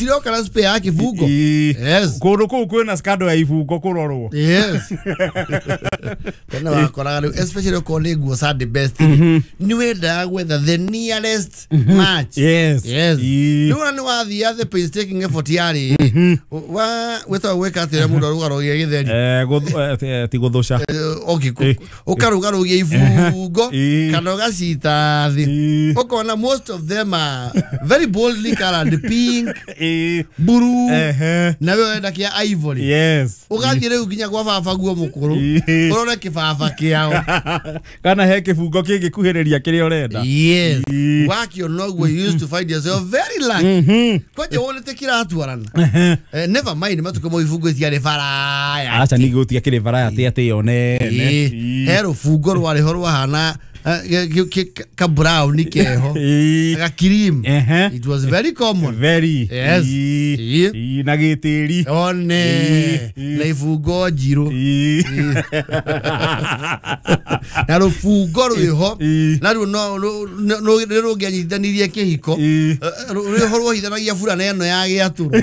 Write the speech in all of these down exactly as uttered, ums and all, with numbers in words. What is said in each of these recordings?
Gũtiroka na spare ya kĩbungo. Yes. Kũndũ kũu kwĩna scandal ya ibungo kũrorwo. Yes. Tena wakoraga rĩu especially okorwo nĩ nguo Sunday best nĩ wendaga gwetha the nearest match. Yes. Yes. Ĩĩ. Rĩu ona nĩ wathiia the painstaking effort yarĩ wa wĩtagwo gwĩka atĩa mũndũ arũgarũgia gĩtheri. Eh, gũth- eh, ti gũthũca. Eh, okay, ku- ũkarũgarũgia ibungo Ĩĩ. kana ũgacita thĩ Ĩĩ. ũkona most of them are very boldly colored pink, Ĩĩ. blue, Ehe. na we ũrenda kĩa ivory. Yes. Ũgathiĩ rĩu nginya gwa baba guo mũkũrũ Ĩĩ. ũrore kĩbaba kĩao. Kana he kĩbungo kĩngĩkuhĩrĩria kĩrĩa ũrenda. Yes. Ĩĩ. Wakiona ũguo you used to find yourself very lucky kwanja wonete kĩratwarana. Eh, never mind matukũ mau ibungo itiarĩ baraya. Aca ningĩ gũtiakĩrĩ variety atĩ ĩyo nene. Ĩĩ. He rũbungo rwarĩ ho rwahana eh, gĩ- gĩ- ka brown keho Ĩĩ. ga cream. Ehe. It was very common. Very. Yes. Ĩĩ. Ĩĩ. Ĩĩ, na gĩtĩri. One Ĩĩ. na ibungo njirũ Ĩĩ. na rũbungo rwĩho Ĩĩ. naruo no rũ- no- no- nĩ rũngĩanyitithanirie kĩhiko. Ĩĩ. Eh, rwĩho rwohithanagia burana ĩno ya gĩatũrũ.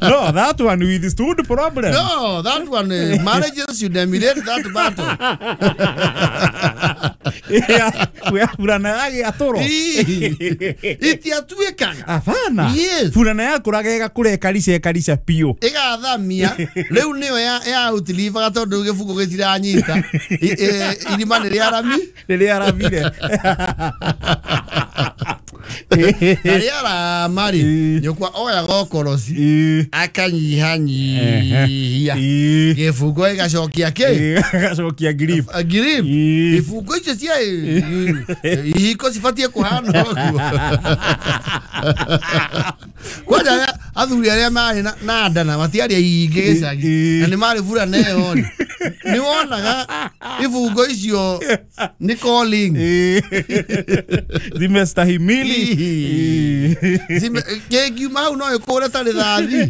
No, that one withstood problem. No, that one, uh, marriages should emulate that battle. Ya burana ya gĩatũro. Itiatuĩkaga. Abana. Yes. Burana yakũraga ĩgakũra ĩkarica ĩkarica biũ. Ĩgathamia rĩu nĩyo ya ya outlivaga tondũ gĩbungo gĩtiranyita. I- eh, irima nĩ rĩarami Rĩrĩa aramire. Na rĩarama rĩ Ĩĩ. nyũkwa oyaga ũkoroci Ĩĩ. akanyihanyihia Ĩĩ. gĩbungo gĩgacokia kĩ. Ĩĩ, agacokia grip. Grip. Ĩĩ. Ibungo icio cia ihiko cibatiĩ kũhana ũguo. Kwanja arĩa- athuri arĩa marĩ na- na nda na matiarĩ aingĩ gĩcagi Ĩĩ. na nĩ marĩ burana ĩyo rĩ nĩ wonaga ibungo icio nĩ calling. Ĩĩ. Zimestahimili. Ĩĩ. Ĩĩ. Zime- kĩngiuma hau no ĩkũre ta rĩthathi.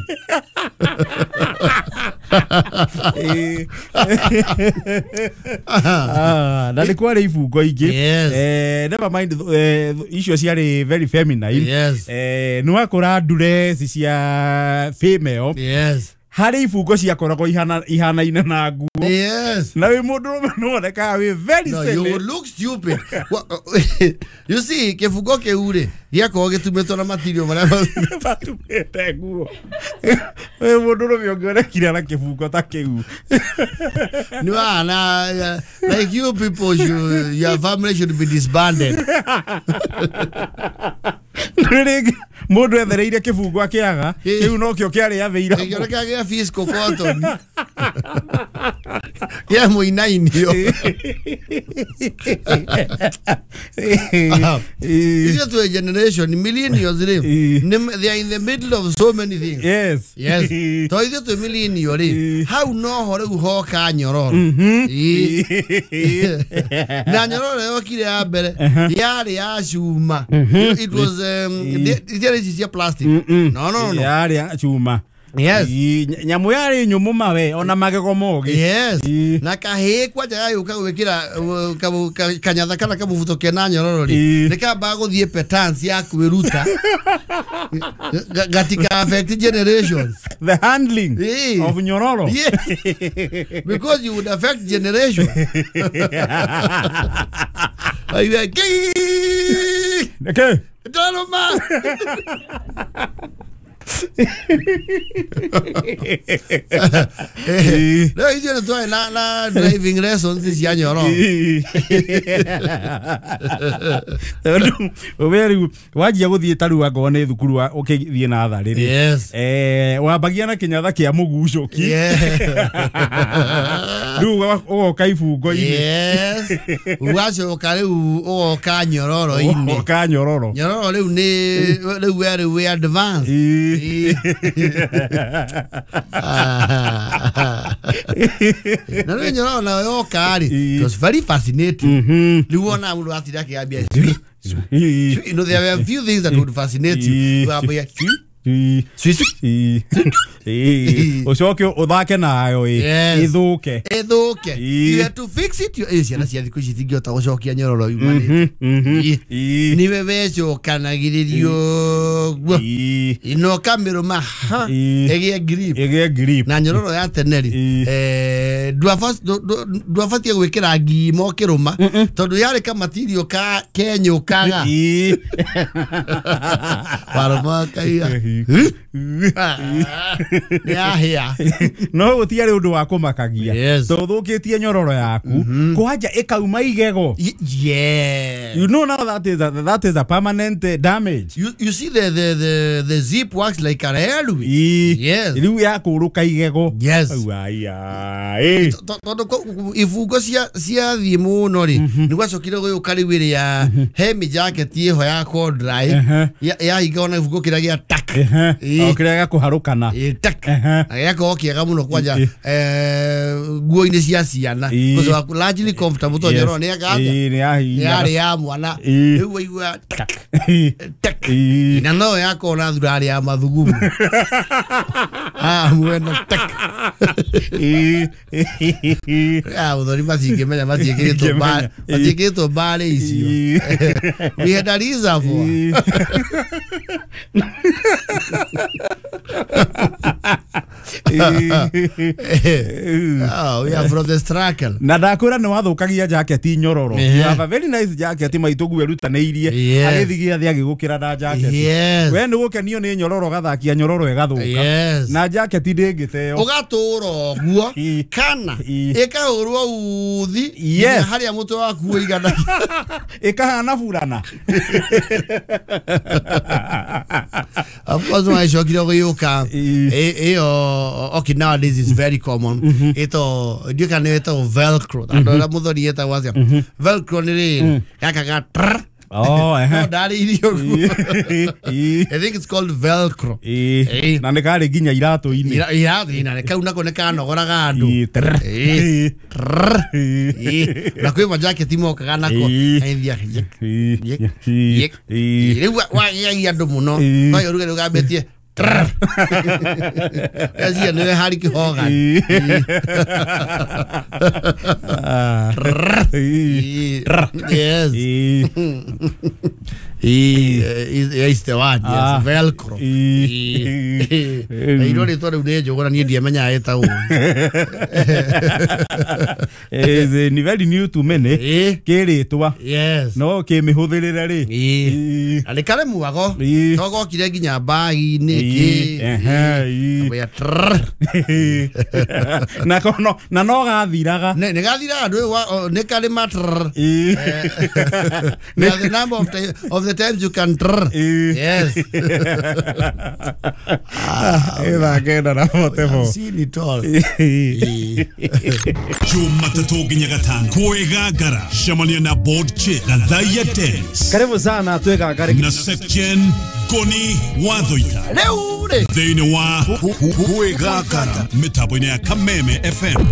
Ĩĩ. Ah, na nĩ kwarĩ ibungo ingĩ. Yes. Eh, never mind eh, icio ciarĩ very feminine. Yes. Eh, nĩ wakũra ndureci cia female Yes. harĩ ibungo ciakoragwo ihana- ihanaine na nguo Yes. na wĩ mũndũrũme nĩwonekaga wĩ very No, you silly. would look stupid. Wa- you see, kĩbungo kĩu rĩ gĩakorwo gĩtumĩtwo na material marĩa matumĩte nguo wĩ mũndũrũme ũngĩonekire na kĩbungo ta kĩu. Nĩ wana like you people should, your family should be disbanded. Nĩ rĩngĩ mũndũ ethereire kĩbungo akĩaga Ĩĩ. kĩu nokĩo kĩarĩ athĩira. Gĩkĩoneka gĩa fiscal cotton kĩa mũinainio. Ithuĩ twĩ generation millennials rĩ Ĩĩ. nĩ- they are in the middle of so many things. Yes. Yes. To ithuĩ twĩ millennial rĩ Ĩĩ. hau noho rĩu hoka nyororo. Ĩĩ. Na nyororo yokire ya mbere yarĩ ya cuma. It was um, itiarĩ ici cia plastic. No, no, no. Yarĩ ya cuma. Yes. Ĩĩ, ny- nyamũ yarĩ nyũmũ mawe ona magego mogĩ. Yes. Ĩĩ. Na kahĩĩ kwanja gagĩũka gwĩkĩra uh, kabu- ka- kanyatha kana kamũbuto kena nyororo rĩ Ĩĩ. nĩ kambaga gũthiĩ petance ya kwĩruta Ga- gatika affect generations. The handling Ĩĩ. of nyororo. Yes. Because you would affect generation. Like, like, Okay. Ndarũma. Rĩu ithuĩ nĩ twarĩ na na driving lessons cia nyororo. Tondũ we rĩu wanjia gũthiĩ ta rĩu angorwo nĩ thukuru wa- ũkĩthiĩ natharĩ rĩ Yes. eh, wambagia na kĩnyatha kĩa mũgucũki Yeah. rĩu ũgoka ibungo-inĩ. Yes. Ũgacoka rĩu ũgoka nyororo-inĩ. Ũgoka nyororo. Nyororo rĩu nĩ rĩu we rĩu wĩ advance. Ĩĩ. Na rĩu nyororo nayo yoka rĩ Ĩĩ. it was very fascinating. Mhm. Rĩu wona mũndũ atinda akĩambia Ĩĩ. you know there were a few things that would fascinate you. Ĩĩ. Wambia Ĩĩ. swi swi Ĩĩ. Ucoke uthake nayo ithuke ithuke. You have to fix it. You ciana cia thikũ ici itingĩhota gũcokia nyororo yumanĩte. Niwe wecokanagĩrĩrio guo ino kamĩrũma ha ĩgĩe grip ĩgĩe grip. Na nyororo ya tene rĩ eh ndwabatiĩ gwĩkĩra ngima ũkĩrũma tondũ yarĩ kamatirio ka kenyũkaga warũma kaiga nĩyahĩa. No gũtiarĩ ũndũ wa kũmakagia tũthũkĩtie nyororo yaku kwanja ĩkauma igego. Yeah. You know now that is a, that is a permanent damage. You, you see the, the, the, the zip works like a railway. Yes. Rĩu yakũrũka igego. Yes. Tondũ ibungo ciathiĩ mũno rĩ nĩ gwacokire gũgĩũka rĩu ĩrĩa he mĩjaketi ĩho ya corduroy yahinga ona ibungo kĩrĩa gĩa tak o kĩrĩa gĩa kũharũkana tak na gĩgakorwo kĩega mũno kwanja nguo-inĩ cia ciana because largely comfortable tondũ nyororo nĩ yarĩ ya mwana rĩu waigua tak tak na no yakorwo na thurarĩ ya mathugumo ah mwena tak ah ũthori matingĩmenya matiĩkĩrĩtwo mbarĩ matiĩkĩrĩtwo mbarĩ icio. We had a reservoir. Oh, we are from the struggle. Na ndakwĩra nĩ wathũkagia jaketi nyororo. You have a very nice jacket maitũguo erutanĩirie agĩthiĩ gĩathĩ agĩgũkĩra na jaketi. We nĩ gũkenio nĩ nyororo gathakia nyororo ĩgathũka na jaketi ndĩngĩteo ũgatũra ũguo kana ĩkahũrwo uthi harĩa mũtwe waku ũigana ĩkahana burana. Of course no gĩũka ĩyo. Okay, nowadays it's very common. Ito you can ito velcro. Andũ arĩa mũthoni etagwo atĩa? Velcro nĩ rĩrĩ gaka ga trrr. Oh, eh. No ndarĩ irio. I think it's called velcro. Eh. Na nĩ karĩ nginya iratũ-inĩ. Iratũ-inĩ kau nako nĩ kanogoraga andũ. Eh. Na kwĩ majaketi mokaga nako. Rĩu wagĩagia andũ mũno. No ũrugarĩ ũgambĩtie trrr. Kazi nĩ Harry Hogan. Yes. Is the one, yes, velcro. Iro rĩtwa rĩu nĩ njũgũra niĩ ndiamenyaga ĩtagwo. Is ni very new to many. Kĩrĩtwa. Yes. No kĩmĩhũthĩrĩre rĩ. Na nĩ karĩ mwago. No gokire nginya mbagi-inĩ kĩ. Na kono na no gathiraga. Nĩ gathiraga nĩ karĩ ma trrr. The number of the, of the times you can trrr. Yes. Ĩthaa kenda na forty four. Seen it all. Jumatatu nginya gatano kwĩgangara cemania na board chair Gathaiya Dennis. Karibu sana twĩgangare na Sepjen Koni Wathoita rĩu rĩ thĩinĩ wa kwĩgangara mĩtambo-inĩ ya Kameme F M.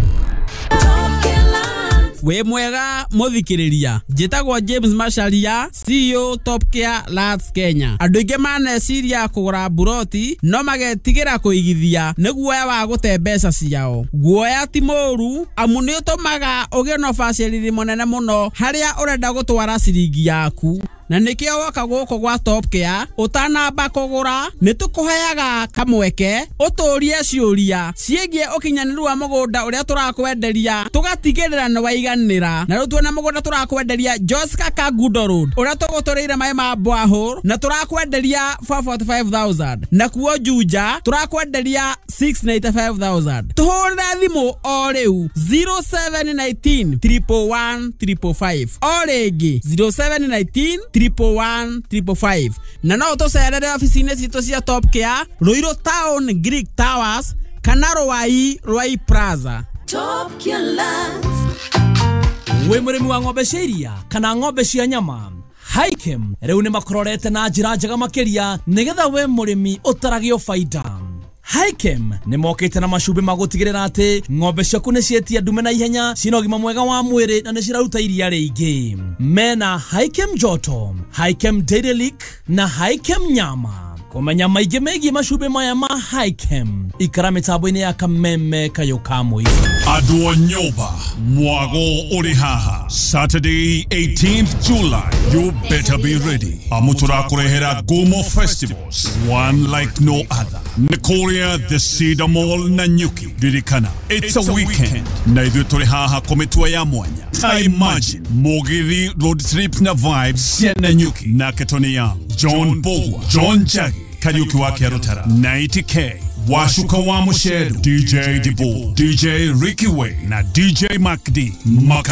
We mwega muthikiriria njitagwo James Macharia C E O Top Care Lands Kenya. Andu aingi maneciria kugura buroti no magetigira kuigithia ni guoya wa gute mbeca ciao. Guoya ti mũru amu ni utumaga ugie na ubacĩrĩri mũnene mũno haria urenda gutwara ciringi yaku. Na nikio woka guku gwa Top Care utanamba kugura ni tukuheaga kamweke uturie ciuria ciĩgiĩ ũkinyanĩru wa mũgũnda ũrĩa tũrakwenderia tũgatigĩrĩra nĩ waiganĩra. Na rĩu tuona mũgũnda tũrakwenderia Joska Kangundo Road ũrĩa tũgũtũrĩire maĩ ma borehole na tũrakwenderia four forty five thousand, na kuo Juja tũrakwenderia six ninety five thousand. Tũhũrĩre thimũ o rĩu zero seven nineteen triple one triple five o rĩngĩ zero seven nineteen triple one triple five. Na no tũcerere ofici-inĩ citũ cia Top Care Ruiru Town Greek Towers kana Ruai Ruai Plaza. Top Care Lands. Wĩ mũrĩmi wa ng'ombe cia iria kana ng'ombe cia nyama, Hikem rĩu nĩ makororete na njĩra njega makĩria nĩgetha we mũrĩmi ũtaragio baida. Hikem nĩ mokĩte na macumbĩ ma gũtigĩrĩra atĩ ng'ombe ciaku nĩ cietia ndume na ihenya, cina ũgima mwega wa mwĩrĩ na nĩ ciraruta iria rĩingĩ. Mena Hikem Joto, Hikem Dairy Lick na Hikem Nyama. Kũmenya maingĩ megiĩ macumbĩ maya ma Hikem, ikara mĩtambo-inĩ ya Kameme Kayũ ka Mũingĩ. Andũ a nyũmba mwago ũrĩ haha Saturday eighteenth July, you better be ready. Amu tũrakũrehera Gumo Festivals, one like no other. Nĩkũrĩa the Cedar Mall Nanyuki. Ririkana, it's a weekend na ithuĩ tũrĩ haha kũmĩtua ya mwanya. I imagine Mugithi road trip na vibes cia Nanyuki nake Tony Young, John Bogwa, John Jagi, Kariuki wa Kĩarũtara, ninety K, Washuka wa Musheru, D J Dibu, D J Ricky Way na D J Mac D. Maka